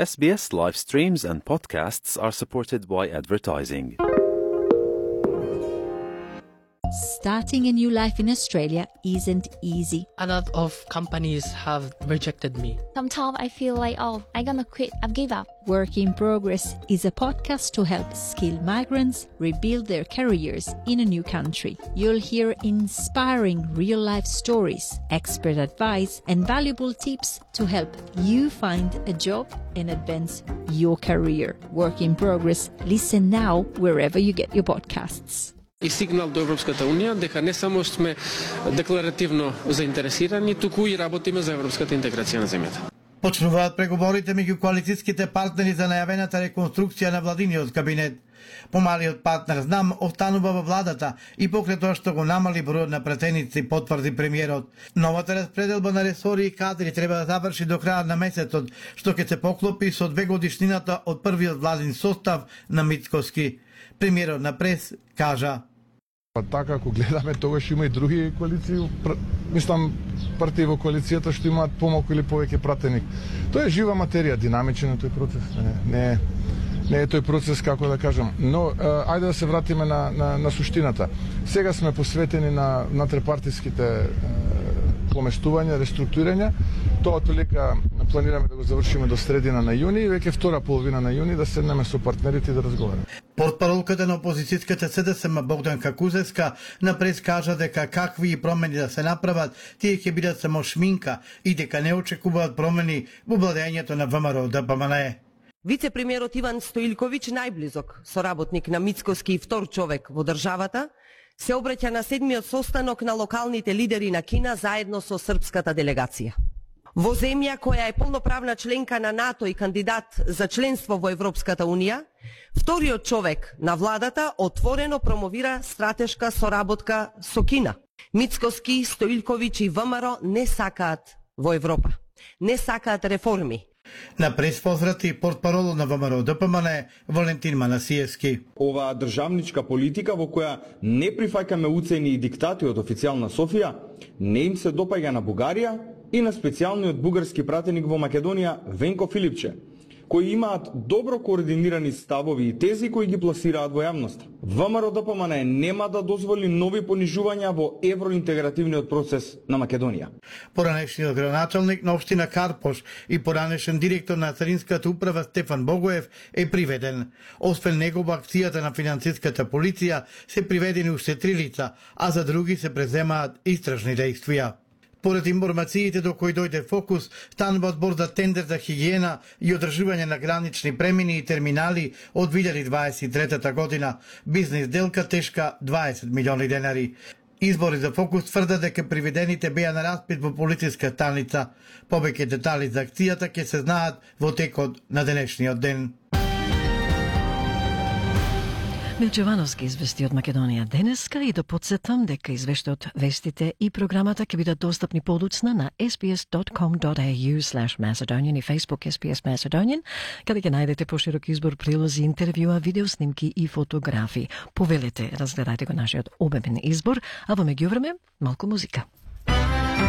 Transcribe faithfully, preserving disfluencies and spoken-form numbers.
S B S live streams and podcasts are supported by advertising. Starting a new life in Australia isn't easy. A lot of companies have rejected me. Sometimes I feel like, oh, I'm gonna quit, I've give up. Work in Progress is a podcast to help skilled migrants rebuild their careers in a new country. You'll hear inspiring real-life stories, expert advice, and valuable tips to help you find a job and advance your career. Work in Progress. Listen now wherever you get your podcasts. И сигнал до Европската Унија дека не само сме декларативно заинтересирани, туку и работиме за европската интеграција на земјата. Почнуваат преговорите меѓу коалицијските партнери за најавената реконструкција на владиниот кабинет. Помалиот партнер знам останува во владата и покрај тоа што го намали бројот на пратеници, потврди премиерот. Новата распределба на ресори и кадри треба да заврши до крајот на месецот, што ќе се поклопи со две годишнината од првиот владин состав на Мицкоски. Премиерот на прес кажа: Па така, ако гледаме, тогаш има и други коалиции, мислам, партии во коалицијата што имаат помалку или повеќе пратеник. Тоа е жива материја, динамичен е тој процес. Не, не, не е тој процес, како да кажам. Но, ајде да се вратиме на, на, на суштината. Сега сме посветени на натрепартиските поместувања, реструктурирања. Тоа толика планираме да го завршиме до средина на јуни и веќе втора половина на јуни да седнеме со партнерите и да разговараме. Портпаролката на опозицијската С Д С М Богданка Кузевска на прес кажа дека какви промени да се направат, тие ќе бидат само шминка и дека не очекуваат промени во владењето на В М Р Д П М Н Е. Вице-премиерот Иван Стоилковиќ, најблизок соработник на Мицкоски и втор човек во државата, се обраќа на седмиот состанок на локалните лидери на Кина заедно со српската делегација. Во земја која е полноправна членка на НАТО и кандидат за членство во Европската Унија, вториот човек на владата отворено промовира стратешка соработка со Кина. Мицкоски, Стоилковиќ и В М Р не сакаат во Европа. Не сакаат реформи. На пресфозрати портпаролот на В М Р Д П М Н Е Валентин Манасиевски. Оваа државничка политика во која не прифаќаме уцени и диктати од официјална Софија, не им се допаѓа на Бугарија и на специјалниот бугарски пратеник во Македонија Венко Филипче, кои имаат добро координирани ставови и тези кои ги пласираат во јавноста. В М Р Д П М Н Е нема да дозволи нови понижувања во евроинтегративниот процес на Македонија. Поранешниот градоначалник на општина Карпош и поранешен директор на Царинската управа Стефан Богоев е приведен. Освен него во акцијата на финансиската полиција се приведени уште три лица, а за други се преземаат истражни дејствија. Поред информациите до кои дојде Фокус, станува збор за тендер за хигиена и одржување на гранични премини и терминали од две илјади дваесет и трета година. Бизнес делка тешка дваесет милиони денари. Избори за Фокус тврдат дека приведените беа на распит во полициска станица. Повеќе детали за акцијата ќе се знаат во текот на денешниот ден. Милче Вановски извести од Македонија денеска и да подсетам дека извештајот, вестите и програмата ќе бидат достапни подоцна на s b s dot com dot a u slash macedonian и Facebook S B S Macedonian, каде ќе најдете поширок избор прилози, интервјуа, видеоснимки и фотографии. Повелете, разгледајте го нашиот обемен избор, а во меѓувреме малку музика.